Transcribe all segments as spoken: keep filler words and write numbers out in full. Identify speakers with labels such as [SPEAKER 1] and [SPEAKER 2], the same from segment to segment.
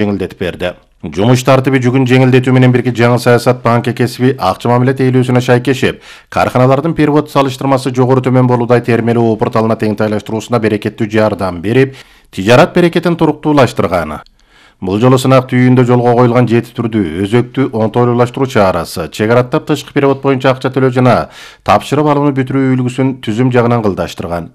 [SPEAKER 1] жеңилдетип берди. Жумуш тартиби жүгүн жеңилдетүү менен бирге жаңы саясат банк кесиби акча мамиле тейлөөсүнө шайкешип, карханалардын перевод салыштырмасы жогору төмөн болуудай термелүү порталына теңтайлаштыруусуна берекеттүү жардам берип, тижарат берекетин туруктуулаштырган. Бул жолу сынак түйүндө жолго коюлган жети түрдүү өзөктүү оңтойлуулаштыруу чарасы чек араттап тышкы перевод боюнча акча төлөө жана тапшырып алууну бүтүрүү үлгүсүн түзүм жагынан кылдаштырган.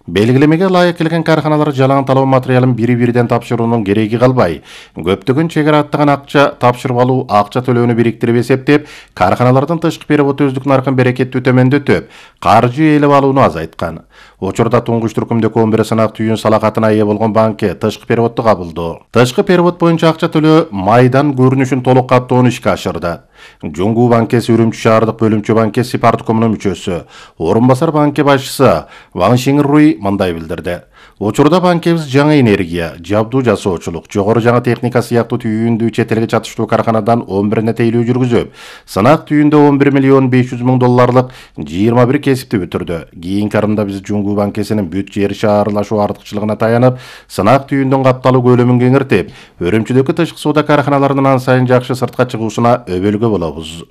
[SPEAKER 1] Белгилемеге ылайык келген карханалар жалаң талоо материалын бири-бириден тапшыруунун кереги калбай, көптөгөн чек араттаган акча тапшырып алуу акча төлөөнү бириктирип эсептеп, карханалардын тышкы перевод өздүк наркын берекеттүү төмөндөтүп, каржы ээлеп алууну азайткан. Учурда туңгуч түркүмдөгү он бир сынак түйүн салакатына ээ болгон банке тышкы переводду кабылдоо, тышкы перевод боюнча акча төлөө майдан көрүнүшүн толук каттоону ишке ашырды. Жоңгу банкеси Үрүмчү шаардык бөлүмчө банкеси парткомунун мүчөсү, орун басар банке башчысы Ван Шинруй мындай билдирди. Учурда банкебиз жаңы энергия, жабдуу жасоочулук, жогору жаңы техника сыяктуу түйүндүү чет элге чатыштуу карханадан он бирине тейлөө жүргүзүп, сынак түйүндө он бир миллион беш жүз миң долларлык жыйырма бир кесипти бүтүрдү. Кийинки арымда биз Жоңгу банкесинин бүт жер шаарлашуу артыкчылыгына таянып, сынак түйүндүн капталуу көлөмүн кеңиртип, Үрүмчүдөгү тышкы соода карханаларынын ан сайын жакшы сыртка чыгуусуна өбөлгө болобуз.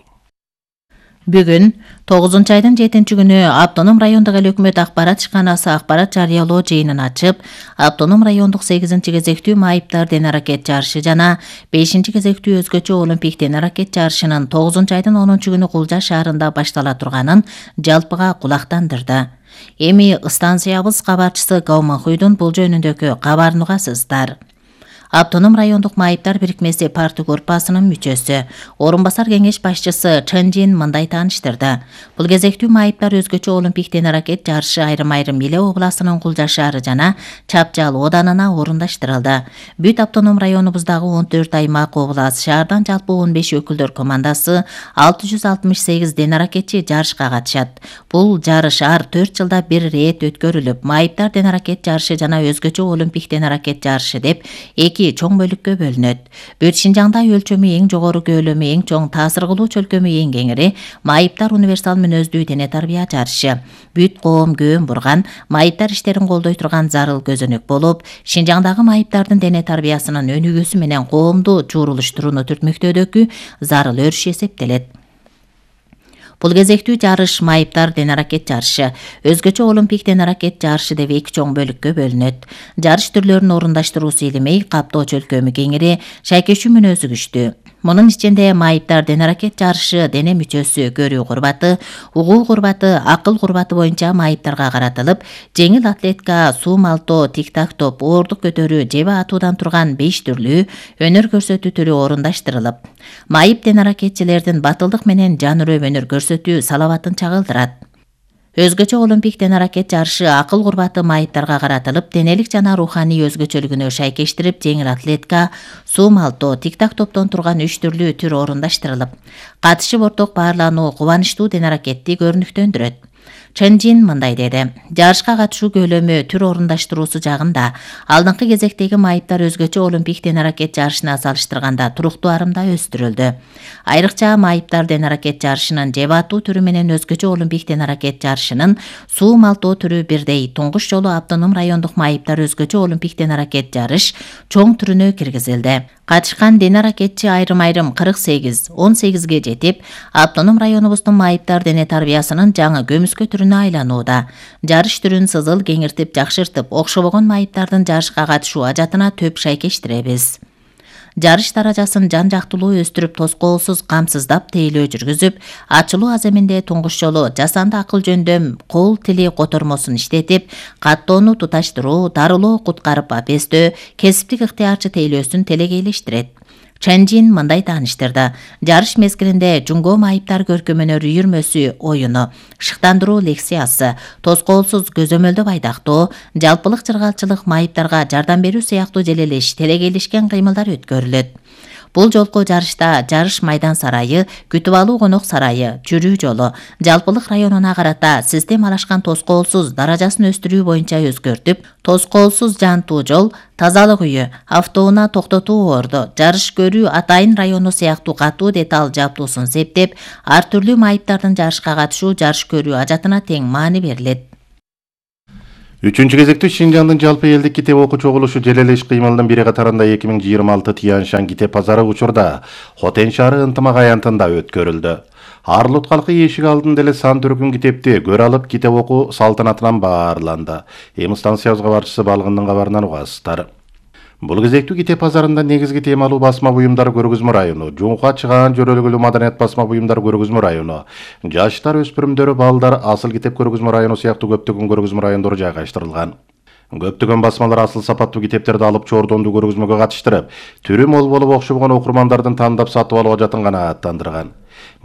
[SPEAKER 2] Бүгүн тогузунчу айдын жетинчи күнү Автоном райондук эл өкмөт акбарат ишканасы акбарат жарыялоо жыйынын ачып, Автоном райондук сегизинчи кезектүү майыптар ден-аракет жарышы жана бешинчи кезектүү өзгөчө олимпик ден-аракет жарышынын тогузунчу айдын онунчу күнү Кулжа шаарында баштала турганын жалпыга кулактандырды. Эми станциябыз кабарчысы Гаумахуйдун бул жөнүндөгү кабарын угасыздар. Автоном райондук майыптар бирикмеси парты группасынын мүчөсү, орун басар кеңеш башчысы Чэнжин мындай тааныштырды. Бул кезектүү майыптар өзгөчө олимпик ден-аракет жарышы айрым-айрым Иле областынын Кулжа шаары жана Чапжал оданына орундаштырылды. Бүт автоном районубуздагы он төрт аймак област шаардан жалпы он беш өкүлдөр командасы алты жүз алтымыш сегиз ден-аракетчи жарышка катышат. Бул жарыш ар төрт жылда бир рет өткөрүлүп, майыптар ден-аракет жарышы жана өзгөчө олимпик ден-аракет жарышы деп эки чоң бөлүккө бөлүнөт. Бүт Шинжаңда өлчөмү эң жогору, көлөмү эң чоң, таасир кылуу чөлкөмү эң кеңири майыптар универсал мүнөздүү дене тарбия жарышы. Бүт коом көөн бурган, майыптар иштерин колдой турган зарыл көзөнөк болуп, Шинжаңдагы майыптардын дене тарбиясынын өнүгүүсү менен коомду чуурулуштурууну түртмөктөөдөгү зарыл өрүш эсептелет. Бул кезектүү жарыш майыптар ден-аракет жарышы, өзгөчө олимпик ден-аракет жарышы деп эки чоң бөлүккө бөлүнөт. Жарыш түрлөрүн орундаштыруусу илимей, каптоо чөлкөмү кеңири, шайкешүү мүнөзү күчтүү. Мунун ичинде майыптар ден-аракет жарышы дене мүчөсү, көрүү курбаты, угуу курбаты, акыл курбаты боюнча майыптарга каратылып, жеңил атлетика, суу малтоо, тик-так топ, оордук көтөрүү, жебе атуудан турган беш түрлүү өнөр көрсөтүү түрү орундаштырылып, майып ден-аракетчилердин батылдык менен жан үрөп өнөр көрсөтүү салабатын чагылдырат. Өзгөчө олимпик ден-аракет жарышы акыл курбаты майыптарга каратылып, денелик жана руханий өзгөчөлүгүнө шайкештирип, жеңил атлетика, суу малтоо, тик-так топтон турган үч түрлүү түр орундаштырылып, катышып орток баарлануу кубанычтуу ден-аракетти көрүнүктөндүрөт. Чэнжин мындай деди. Жарышка катышуу көлөмү, түр орундаштыруусу жагында алдыңкы кезектеги майыптар өзгөчө олимпик ден-аракет жарышына салыштырганда туруктуу арымда өстүрүлдү. Айрыкча майыптар ден-аракет жарышынын жебе атуу түрү менен өзгөчө олимпик ден-аракет жарышынын суу малтоо түрү бирдей. Туңгуш жолу автоном райондук майыптар өзгөчө олимпик ден-аракет жарыш чоң түрүнө киргизилди. Катышкан ден-аракетчи айрым-айрым кырк сегиз, он сегизге жетип, автоном районубуздун майыптар дене тарбиясынын жаңы көмүскө түрүнө айланууда. Жарыш түрүн сызыл кеңиртип, жакшыртып, окшобогон майыптардын жарышка катышуу ажатына төп шайкештиребиз. Жарыш даражасын жан-жактылуу өстүрүп, тоскоолсуз камсыздап тейлөө жүргүзүп, ачылуу аземинде туңгуш жолу жасанды акыл жөндөм кол тили котормосун иштетип, каттоону туташтыруу, дарылоо, куткарып апестөө, кесиптик ыктыярчы тейлөөсүн телегейлештирет. Чэнжин мындай тааныштырды. Жарыш мезгилинде жуңго майыптар көркөмөнөр үйүрмөсү оюну, шыктандыруу лекциясы, тоскоолсуз көзөмөлдө байдактоо, жалпылык жыргалчылык, майыптарга жардам берүү сыяктуу желелеш, телегейлешкен кыймылдар өткөрүлөт. Бул жолку жарышта жарыш майдан сарайы, күтүп алуу конок сарайы, жүрүү жолу, жалпылык районуна карата системалашкан тоскоолсуз даражасын өстүрүү боюнча өзгөртүп, тоскоолсуз жантуу жол, тазалык үйү, автоунаа токтотуу орду, жарыш көрүү атайын району сыяктуу катуу деталь жабдуусун септеп, ар түрлүү майыптардын жарышка катышуу, жарыш көрүү ажатына тең маани берилет.
[SPEAKER 1] Үчүнчү кезекте Шинжаңдын жалпы элдик китеп окуу чогулушу жел эле иш кыймылынын бири катарында эки миң жыйырма алты Тяньшань китеп базары учурда Хотен шаары ынтымак аянтында өткөрүлдү. Арлут калкы эшик алдында эле сан түркүм китепти көрө алып китеп окуу салтанатынан баарланды. Эми станциябызга барчысы балгындын кабарынан угасыздар. Бул кезектүү китеп базарында негизги темалуу басма буюмдар көргөзмө району, жуңка чыгаан жөрөлгүлүү маданият басма буюмдар көргөзмө району, жаштар, өспүрүмдөр, балдар, асыл китеп көргөзмө району сыяктуу көптөгөн көргөзмө райондору жайгаштырылган. Көптөгөн басмалар асыл сапаттуу китептерди алып чордондуу көргөзмөгө катыштырып, түрү мол болуп окшобгон окурмандардын тандап сатып алууга жатын канааттандырган.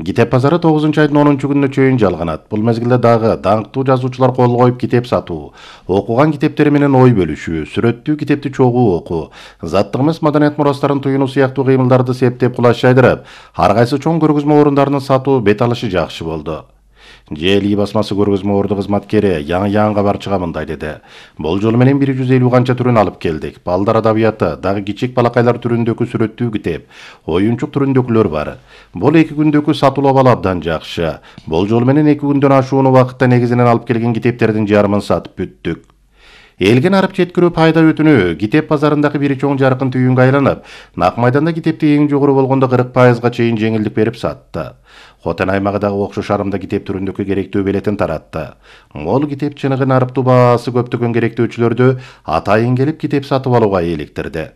[SPEAKER 1] Китеп базары тогузунчу айдын онунчу күнүнө чейин жалганат. Бул мезгилде дагы даңктуу жазуучулар кол коюп китеп сатуу, окуган китептери менен ой бөлүшүү, сүрөттүү китепти чогуу окуу, заттык эмес маданият мурастарын туюнуу сыяктуу кыймылдарды септеп кулаш жайдырып, ар кайсы чоң көргөзмө орундарынын сатуу бет алышы жакшы болду. Жели басмасы көргөзмө орду кызматкери Яң Яң кабарчыга мындай деди. Бул жол менен бир жүз элүү канча түрүн алып келдик. Балдар адабияты, дагы кичик балакайлар түрүндөгү сүрөттүү китеп, оюнчук түрүндөгүлөр бар. Бул эки күндөгү сатуулап алып абдан жакшы. Бул жол менен эки күндөн ашууну убакытта негизинен алып келген китептердин жарымын сатып бүттүк. Элген арып жеткирүү пайда өтүнүү китеп базарындагы бир чоң жаркын түйүнгө айланып, Нак майданда китепти эң жогору болгондо кырк пайызга чейин жеңилдик берип сатты. Хотен аймагындагы окшош арымда китеп түрүндөгү керектүү белетин таратты. Мол китеп чыныгын арыптуу баасы көптөгөн керектөөчүлөрдү атайын келип китеп сатып алууга eelиктирди.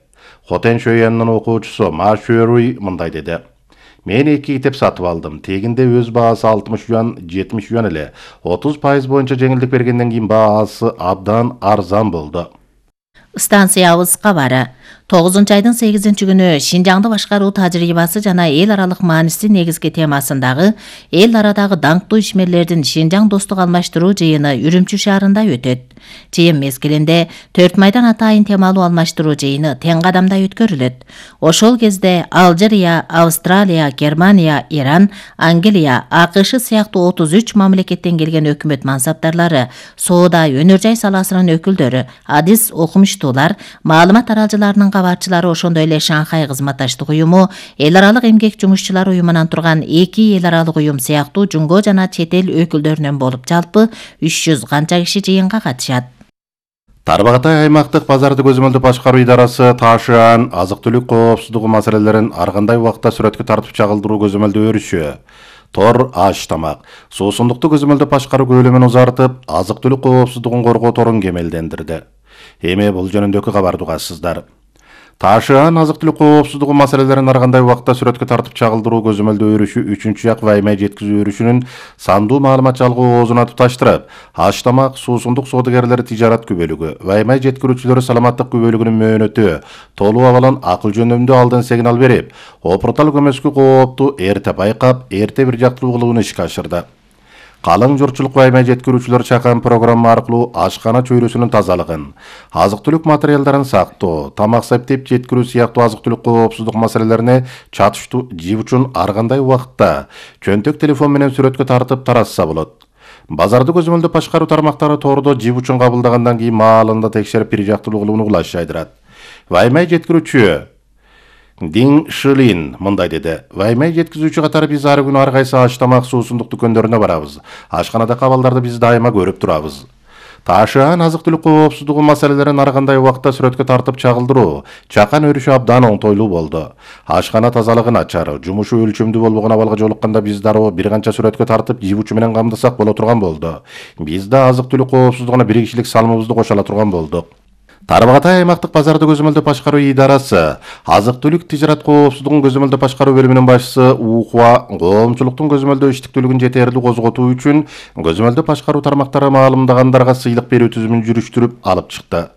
[SPEAKER 1] Хотен Шөйянын окуучусу Ма Шөруй мындай деди. Мен эки китеп сатып алдым. Тегинде өз баасы алтымыш юан, жетимиш юан эле. отуз пайыз боюнча жеңилдик бергенден кийин баасы абдан арзан болду.
[SPEAKER 2] Станциябыз кабары. тогузунчу айдын сегизинчи күнү Шинжаңды башкаруу тажрыйбасы жана эл аралык мааниси негизги темасындагы эл арадагы даңктуу ишмерлердин Шинжаң достук алмаштыруу жыйыны Үрүмчү шаарында өтөт. Жыйын мезгилинде төрт майдан атайын темалуу алмаштыруу жыйыны тең кадамда өткөрүлөт. Ошол кезде Алжирия, Австралия, Германия, Иран, Англия, АКШ сыяктуу отуз үч мамлекеттен келген өкмөт мансаптарлары, соода, өнөр жай саласынын өкүлдөрү, адис окумуштуулар, маалымат аралжыларынын кабарчылары, ошондой эле Шанхай кызматташтык уюму, эл аралык эмгек жумушчулар уюмунан турган эки эл аралык уюм сыяктуу жумго жана чет эл өкүлдөрүнөн болуп жалпы үч жүз канча киши жыйынга катышат.
[SPEAKER 1] Тарбагатай аймактык базарды көзөмөлдүп башкаруу идарасы Ташыан азык-түлүк коопсуздугу маселелерин ар кандай убакта сүрөткө тартып чагылдыруу көзөмөлдөө өрүшү. Тор аш тамак, суусундукту көзөмөлдөп башкаруу көлөмүн узартып, азык-түлүк коопсуздугун коргоо торун кемелдендирди. Эми бул жөнүндөгү кабарды угасыздар. Ташыан азык-түлүк коопсуздугу маселелерин ар кандай убакта сүрөткө тартып чагылдыруу көзөмөлдөө өрүшү үчүнчү жак ваймай жеткизүү өрүшүнүн сандуу маалымат жалгоо оозуна туташтырып, аш тамак, суусундук соодагерлери тижарат күбөлүгү, ваймай жеткирүүчүлөрү саламаттык күбөлүгүнүн мөөнөтү, толуп абалын акыл жөндөмдүү алдын сигнал берип, опуртал көмөскү коопту эрте байкап, эрте бир жактуу кылууну ишке ашырды. Калың журтчулук ваймай жеткирүүчүлөр чакан программа аркылуу ашкана чөйрөсүнүн тазалыгын, азык-түлүк материалдарын сактоо, тамак септеп жеткирүү сыяктуу азык-түлүк коопсуздук маселелерине чатыштуу жив үчүн ар кандай убакытта чөнтөк телефон менен сүрөткө тартып таратса болот. Базарды көзөмөлдөп башкаруу тармактары тордо жив үчүн кабылдагандан кийин маалында текшерип бир жактуу кылууну кулаш жайдырат. Ваймай жеткирүүчү Дин Шилин мындай деди. Ваймай жеткизүүчү катары биз ар күнү ар кайсы аш тамак, суусундук дүкөндөрүнө барабыз. Ашканада кабалдарды биз дайыма көрүп турабыз. Ташыан азык-түлүк коопсуздугу маселелерин ар кандай убакта сүрөткө тартып чагылдыруу чакан өрүшү абдан оңтойлуу болду. Ашкана тазалыгы начар, жумушу өлчөмдүү болбогон абалга жолукканда биз дароо бир канча сүрөткө тартып жив үчү менен камдасак боло турган болду. Биз да азык-түлүк коопсуздугуна бир кишилик салымыбызды кошо ала турган болдук. Тарбагатай аймактык базарды көзөмөлдөп башкаруу идарасы азык-түлүк тижарат коопсуздугун көзөмөлдөп башкаруу бөлүмүнүн башчысы Ухуа коомчулуктун көзөмөлдөө иштиктүүлүгүн жетерлик козготуу үчүн көзөмөлдөп башкаруу тармактары маалымдагандарга сыйлык берүү түзүмүн жүрүштүрүп алып чыкты.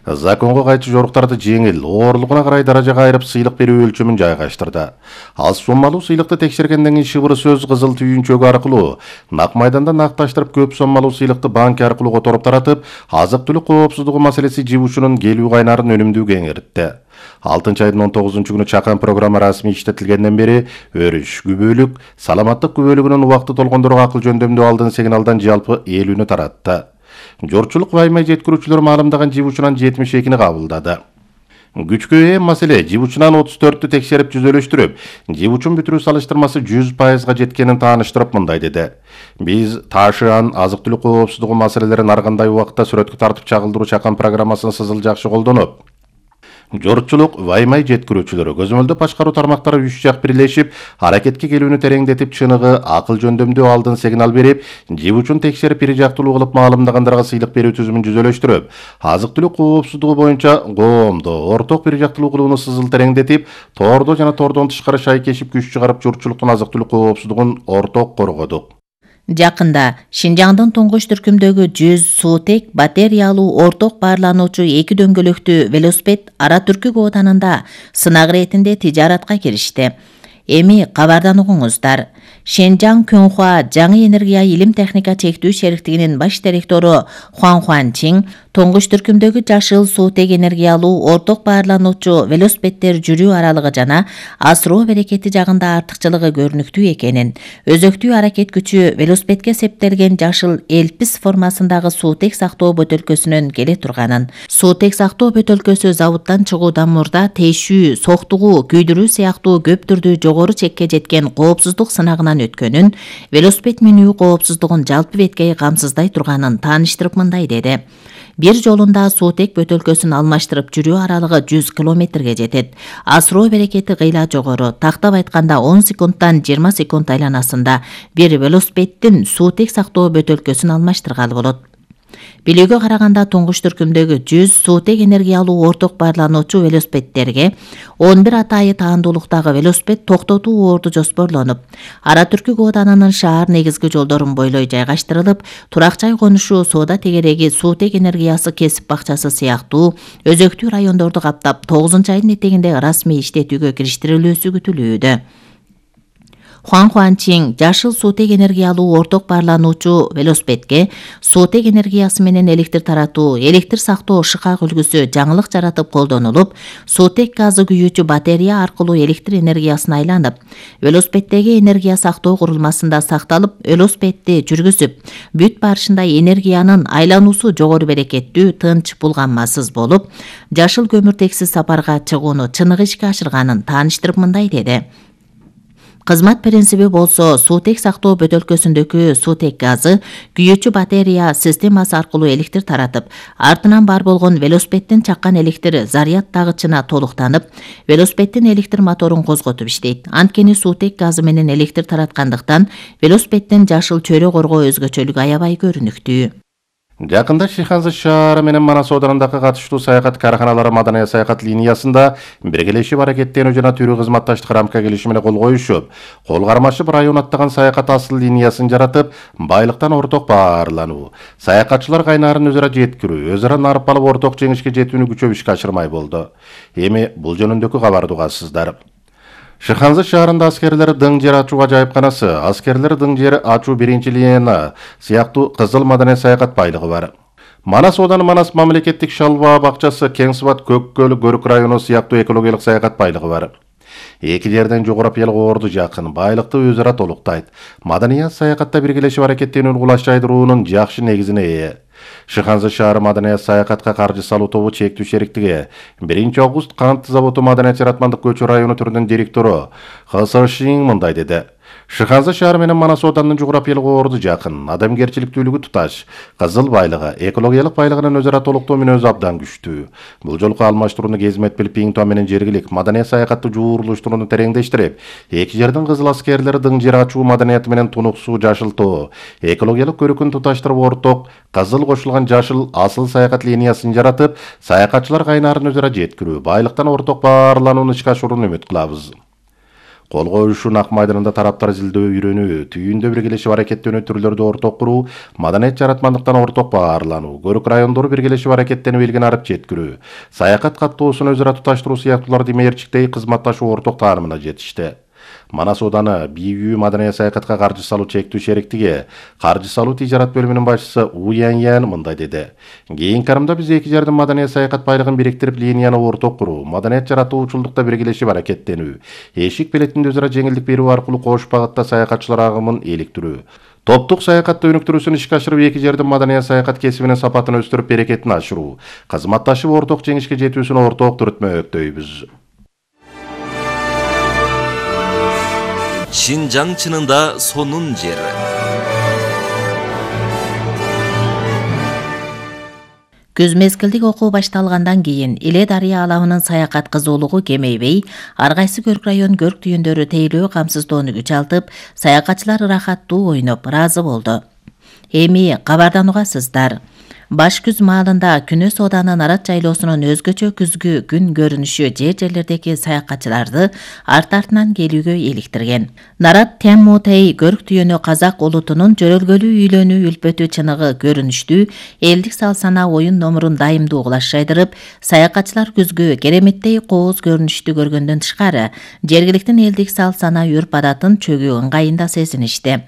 [SPEAKER 1] Законго кайчы жоруктарды жеңил, оорлугуна карай даражага айырып сыйлык берүү өлчөмүн жайгаштырды. Аз соммалуу сыйлыкты текшергенден кийин шыбыр сөз кызыл түйүнчөгү аркылуу Нак майданда накташтырып көп соммалуу сыйлыкты банк аркылуу которуп таратып, азык-түлүк коопсуздугу маселеси жив үчүнүн келүү кайнарын өнүмдүү кеңейтти. алтынчы айдын он тогузунчу күнү чакан программа расмий иштетилгенден бери өрүш, күбөлүк, саламаттык күбөлүгүнүн убакыты толгондорго акыл жөндөмдүү алдын сигналдан жалпы элүүнү таратты. Журтчулук ваймай жеткирүүчүлөр маалымдаган жив үчүнөн жетимиш экини кабылдады. Күчкө ээ маселе жип учунан отуз төрттү текшерип жүзөлөштүрүп, жип учун бүтүрүү салыштырмасы жүз пайызга жеткенин тааныштырып мындай деди. Биз таашаан азык-түлүк коопсуздугу маселелерин ар кандай убакытта сүрөткө тартып чагылдыруу чакан программасын сызыл жакшы колдонуп, жоручулук, ваймай жеткирүүчүлөрү, көзөмөлдөө башкаруу тармактары үч жак бирлешип, аракетке келүүнү тереңдетип, чыныгы, акыл жөндөмдүү алдын сигнал берип, жип учун текшерип бир жактылуу кылып маалымдагандарга сыйлык берүү түзүмүн жүзөлөштүрүп, азык-түлүк коопсуздугу боюнча коомдо орток бир жактылуу кылууну сызыл тереңдетип, тоордо жана тоордон тышкары шайкешип күч чыгарып, журтчулуктун азык-түлүк коопсуздугун орток коргодук.
[SPEAKER 2] Жакында Шинжаңдын туңгуч түркүмдөгү жүз суутек батареялуу орток баарлануучу эки дөңгөлөктүү велосипед Ара Түркү кооданында сынак иретинде тижаратка киришти. Эми кабардан угуңуздар. Шенжаң Көнхуа жаңы энергия илим техника чектүү шериктигинин баш директору Хуан Хуанчин туңгуч түркүмдөгү жашыл суутек энергиялуу орток баарлануучу велосипеддер жүрүү аралыгы жана асыроо берекети жагында артыкчылыгы көрүнүктүү экенин, өзөктүү аракет күчү велосипедке септелген жашыл элпис формасындагы суутек сактоо бөтөлкөсүнөн келе турганын, суутек сактоо бөтөлкөсү заводдон чыгуудан мурда тейшүү, соктугуу, күйдүрүү сыяктуу көп түрдүү жогору чекке жеткен коопсуздук сынагынан өткөнүн, велосипед минүү коопсуздугун жалпы беткей камсыздай турганын тааныштырып мындай деди. Бир жолунда суутек бөтөлкөсүн алмаштырып жүрүү аралыгы жүз километрге жетет. Асыроо берекети кыйла жогору. Тактап айтканда он секундтан жыйырма секунд айланасында бир велосипеддин суутек сактоо бөтөлкөсүн алмаштыргалы болот. Билүүгө караганда туңгуч түркүмдөгү жүз суутек энергиялуу орток баарлануучу велосипеддерге он бир атайы таандуулуктагы велосипед токтотуу орду жоспорлонуп, Ара Түркү кооданынын шаар негизги жолдорун бойлой жайгаштырылып, турак жай конушу, соода тегереги, суутек энергиясы кесип бакчасы сыяктуу өзөктүү райондорду каптап тогузунчу айдын этегинде расмий иштетүүгө кириштирилүүсү күтүлүүдө. Хуан Хуанчин жашыл суутек энергиялуу орток баарлануучу велосипедке суутек энергиясы менен электр таратуу, электр сактоо шыкак үлгүсү жаңылык жаратып колдонулуп, суутек газы күйүүчү батарея аркылуу электр энергиясына айланып, велосипеддеги энергия сактоо курулмасында сакталып, велосипедди жүргүзүп, бүт барышында энергиянын айлануусу жогору берекеттүү, тынч, булганмасыз болуп, жашыл көмүртексиз сапарга чыгууну чыныгы ишке ашырганын тааныштырып мындай деди. Кызмат принциби болсо суутек сактоо бөтөлкөсүндөгү суутек газы күйүүчү батарея системасы аркылуу электр таратып, артынан бар болгон велосипеддин чаккан электр заряд тагычына толуктанып, велосипеддин электр моторун козготуп иштейт. Анткени суутек газы менен электр тараткандыктан велосипеддин жашыл чөйрө коргоо өзгөчөлүгү аябай көрүнүктүү.
[SPEAKER 1] Жакында Шиханза шаары менен Манас оодарындагы катыштуу саякат карканалары маданий саякат линиясында биргелешип аракеттенүү жана түрүү кызматташтык рамка келишимине кол коюшуп, кол кармашып район аттаган саякат асыл линиясын жаратып, байлыктан орток баарлануу, саякатчылар кайнарын өзара жеткирүү, өз ара нарып алып орток жеңишке жетүүнү күчөп ишке ашырмай болду. Эми бул жөнүндөгү кабарды угасыздар. Шиханза шаарында аскерлер дың жер ачуу ажайыпканасы, аскерлер дың жер ачуу биринчи линия сыяктуу кызыл маданий саякат байлыгы бар. Манас ооданы Манас мамлекеттик шалба бакчасы, Кеңсыбат, Көккөл, Көрүк району сыяктуу экологиялык саякат байлыгы бар. Эки жерден жогорапиялык орду жакын, байлыкты өз ара толуктайт. Маданий саякатта биргелешип аракеттенүүнү кулаштайдырууунун жакшы негизине ээ. Шиханза шаары маданий саякатка каржы салуу тобу чектүү шериктиги биринчи август кант заводу маданият жаратмандык көчү району түрүнүн директору Хасашин мындай деди. Шиханза шаары менен Манас оодарынын жогорапиялык орду жакын, адамгерчиликтүүлүгү туташ, кызыл байлыгы, экологиялык байлыгынын өзара толуктоо мүнөзү абдан күчтүү. Бул жолку алмаштырууну кезмет билип, Пиңтуа менен жергилик маданий саякатты жуурулуштурууну тереңдештирип, эки жердин кызыл аскерлери дың жер ачуу маданияты менен тунуксуу жашылтоо, экологиялык көрүкүн туташтырып орток кызыл кошулган жашыл асыл саякат линиясын жаратып, саякатчылар кайнарын өзара жеткирүү, байлыктан орток баарланууну ишке ашырууну үмүт кылабыз. Кол коюшуун ак майданында тараптар изилдөө үйрөнүү, түйүндө биргелешип аракеттенүү түрлөрдү орток куруу, маданият жаратмандыктан орток баарлануу, Көрүк райондору биргелешип аракеттенүү элгин арып жеткирүү, саякат каттоосун өзара туташтыруу сыяктууларды мээрчиктей кызматташуу орток таанымына жетишти. Манас ооданы бийүү маданий саякатка каржы салуу чектүү шериктиги каржы салуу тижарат бөлүмүнүн башчысы У Яньян мындай деди. Кийинки карымда биз эки жердин маданий саякат байлыгын бириктирип, линияны орток куруу, маданият жаратуучулдукта биргелешип аракеттенүү, эшик билетинде өзара жеңилдик берүү аркылуу кош багытта саякатчылар агымын иликтирүү, Топтук саякатты өнүктүрүүсүн ишке ашырып, эки жердин маданият саякат кесибинин сапатын өстүрүп, берекетин ашыруу, кызматташып орток жеңишке жетүүсүн орток түрөтмөктөйбүз.
[SPEAKER 3] Шинжаң чынында сонун жер.
[SPEAKER 2] Күз мезгилдик окуу башталгандан кийин Иле дарыя алабынын саякат кызуулугу кемейбей, ар кайсы Көрк район көрк түйүндөрү тейлөө камсыздоону күч алтып, саякатчылар ырахаттуу ойноп ыраазы болду. Эми кабарданугасыздар. Баш күз маалында Күнө Сооданын Нарат жайлоосунун өзгөчө күзгү күн көрүнүшү жер-жерлердеги саякатчыларды арт-артынан келүүгө иликтирген. Нарат Тяммутей көрк түйөнү казак улутунун жөрөлгөлүү үйлөнүү үлпөтү чыныгы көрүнүштүү элдик сал-сана оюн номурун дайымдуу кулаш жайдырып, саякатчылар күзгү кереметтей кооз көрүнүштү көргөндөн тышкары, жергиликтин элдик сал-сана үрп-адатын чөгүү ыңгайында сезиништи.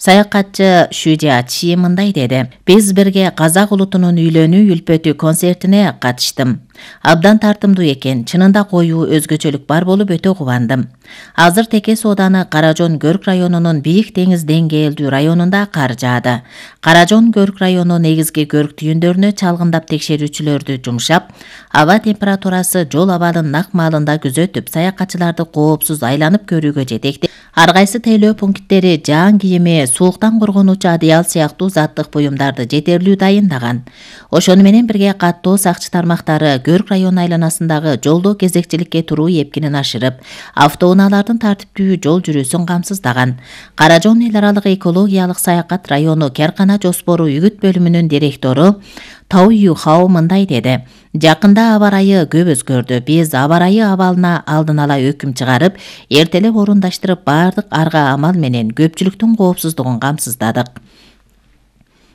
[SPEAKER 2] Саякатчы Шүжа Чи мындай деди: "Биз бирге казак улутунун үйлөнүү үлпөтү концертине катыштым. Абдан тартымдуу экен, чынында коюу өзгөчөлүк бар болуп өтө кубандым. Азыр Теке Сооданы Каражон Көрк районунун бийик деңиз деңгээлдүү районунда кар жаады. Каражон Көрк району негизги көрк түйүндөрүнө чалгындап текшерүүчүлөрдү жумшап, аба температурасы жол абалын нак маалында күзөтүп, саякатчыларды коопсуз айланып көрүүгө жетекти. Ар кайсы тейлөө пункттери жаан кийими, сууктан коргонуучу одеял сыяктуу заттык буюмдарды жетерлүү дайындаган. Ошону менен бирге каттоо сакчы тармактары Көрк району айланасындагы жолдо кезекчиликке туруу эпкинин ашырып, автоунаалардын тартиптүү жол жүрүүсүн камсыздаган. Каражон эл аралык экологиялык саякат району Керкана жоспору үгүт бөлүмүнүн директору Тау Юхао мындай деди: "Жакында аба ырайы көп өзгөрдү. Биз аба ырайы абалына алдын ала өкүм чыгарып, эртелеп орундаштырып, бардык арга амал менен көпчүлүктүн коопсуздугун камсыздадык."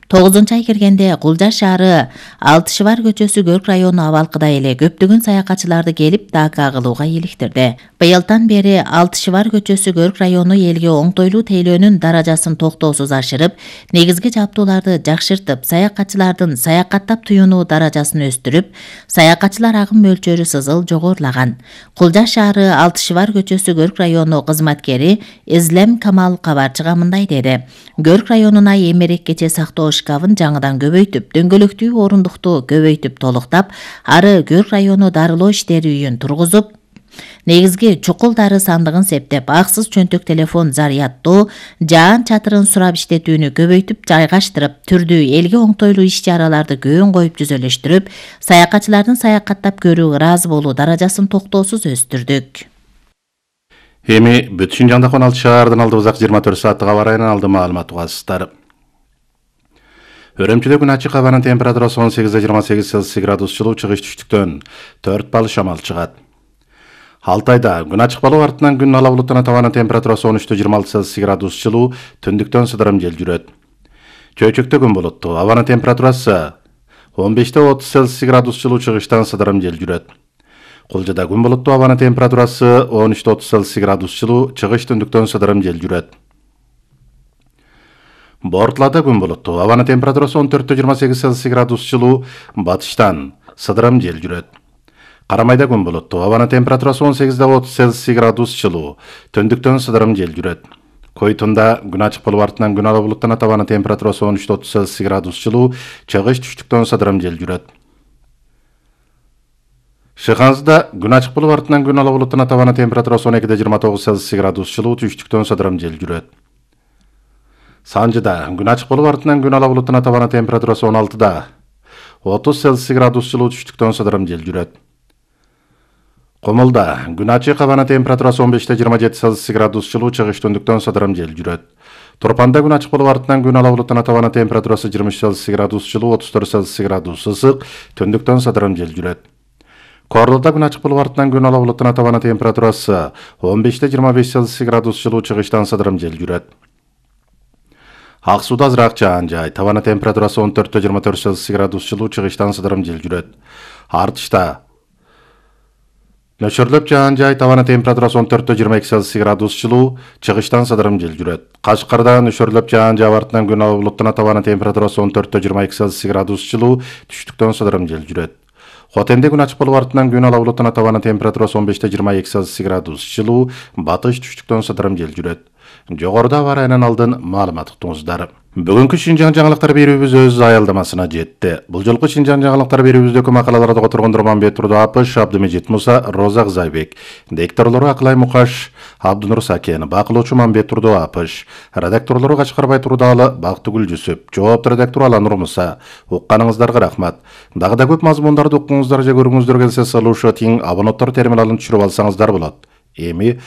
[SPEAKER 2] тогузунчу ай киргенде Кулжа шаары Алтышыбар көчөсү Көрк району абалкыдай эле көптөгөн саякатчыларды келип дака кылууга иликтирди. Быйылдан бери Алтышыбар көчөсү Көрк району элге оңтойлуу тейлөөнүн даражасын токтоосуз ашырып, негизги жабдууларды жакшыртып, саякатчылардын саякаттап туюнуу даражасын өстүрүп, саякатчылар агым мөлчөрү сызыл жогорулаган. Кулжа шаары Алтышыбар көчөсү Көрк району кызматкери Излем Камал кабарчыга мындай деди: "Көрк районуна эмерек кече сактоо шкафын жаңыдан көбөйтүп, дөңгөлөктүү орундукту көбөйтүп толуктап, ары Көрк району дарылоо иштери үйүн тургузуп, негизги чукул дары сандыгын септеп, аксыз чөнтөк телефон зарядтоо, жаан чатырын сурап иштетүүнү көбөйтүп жайгаштырып, түрдүү элге оңтойлуу иш-чараларды көөн коюп жүзөлөштүрүп, саякатчылардын саякаттап көрүү, ыраазы болуу даражасын токтоосуз өстүрдүк."
[SPEAKER 1] Эми бүт Шинжаңдагы он алты шаардын алдыбызак жыйырма төрт сааттык аба ырайынан алды маалымат угасыздар. Өрөмчүдө күн ачык, абанын температурасы он сегиз жыйырма сегиз Цельсий градус жылуу, чыгыш түштүктөн төрт балл шамал чыгат. Алтайда күн ачык болуп, артынан күн ала булуттан абанын температурасы он үч жыйырма алты Цельсий градус жылуу, түндүктөн сыдырым жел жүрөт. Чөйчөктө күн булуттуу, абанын температурасы он беш отуз Цельсий градус жылуу, чыгыштан сыдырым жел жүрөт. Кулжада күн булуттуу, абанын температурасы он үч отуз Цельсий градус жылуу, чыгыш түндүктөн сыдырым жел жүрөт. Бортлада күн булуттуу, абанын температурасы он төрт жыйырма сегиз Цельсий градус жылуу, батыштан сыдырым жел жүрөт. Карамайда күн булуттуу, абанын температурасы он сегиз отуз Цельсий градус жылуу, түндүктөн сыдырым жел жүрөт. Койтунда күн ачык болуп, артынан күн ала булуттан абанын температурасы он үч отуз Цельсий градус жылуу, чыгыш түштүктөн сыдырым жел жүрөт. Шыханзда күн ачык болуп, артынан күн ала булуттан абанын температурасы он эки жыйырма тогуз Цельсий градус жылуу, түштүктөн сыдырым жел жүрөт. Санжыда күн ачык болуп, артынан күн ала булуттан абанын температурасы он алты отуз Цельсий градус жылуу, түштүктөн сыдырым жел жүрөт. Комулда күн ачык, абанын температурасы он беш жыйырма жети Цельсий градус жылуу, чыгыш түндүктөн сыдырым жел жүрөт. Турпанда күн ачык болуп, артынан күн ала булуттан абанын температурасы жыйырма үч Цельсий градус жылуу, отуз төрт Цельсий градус ысык, түндүктөн сыдырым жел жүрөт. Корлоодо күн ачык болуп, артынан күн ала булуттан абанын температурасы он беш жыйырма беш Цельсий градус жылуу, чыгыштан сыдырым жел жүрөт. Ак сууда азыраак жаан жай, табаны температурасы он төрт жыйырма төрт Цельсий градус жылуу, чыгыштан сыдырым жел жүрөт. Артышта нөшөрлөп жаан жай, табаны температурасы он төрт жыйырма эки Цельсий градус жылуу, чыгыштан сыдырым жел жүрөт. Кашкарда нөшөрлөп жаан жай, артынан күн ала булуттан табаны температурасы он төрт жыйырма эки Цельсий градус жылуу, түштүктөн сыдырым жел жүрөт. Хотенде күн ачык болуп, артынан күн ала булуттан табаны температурасы он беш жыйырма эки Цельсий градус жылуу, батыш түштүктөн сыдырым жел жүрөт. Жогоруда авариянын алдын маалымат уктуңуздар. Бүгүнкү Шинжаң жаңылыктар берүүбүз өз аялдамасына жетти. Бул жолку Шинжаң жаңылыктар берүүбүздөгү макалаларды которгондор Мамбет Турду Апыш, Абдымежит Муса, Роза Кызайбек, дикторлору Акылай Мукаш, Абдынур Сакен, бакылоочу Мамбет Турду Апыш, редакторлору Качкарбай Турдалы, Бактыгүл Жүсүп, жоопту редактор Аланур Муса. Укканыңыздарга рахмат. Дагы да көп мазмундарды уккуңуздар же көрүүңүздөр келсе, салуша тиң абонаттар терминалын түшүрүп алсаңыздар болот. Эми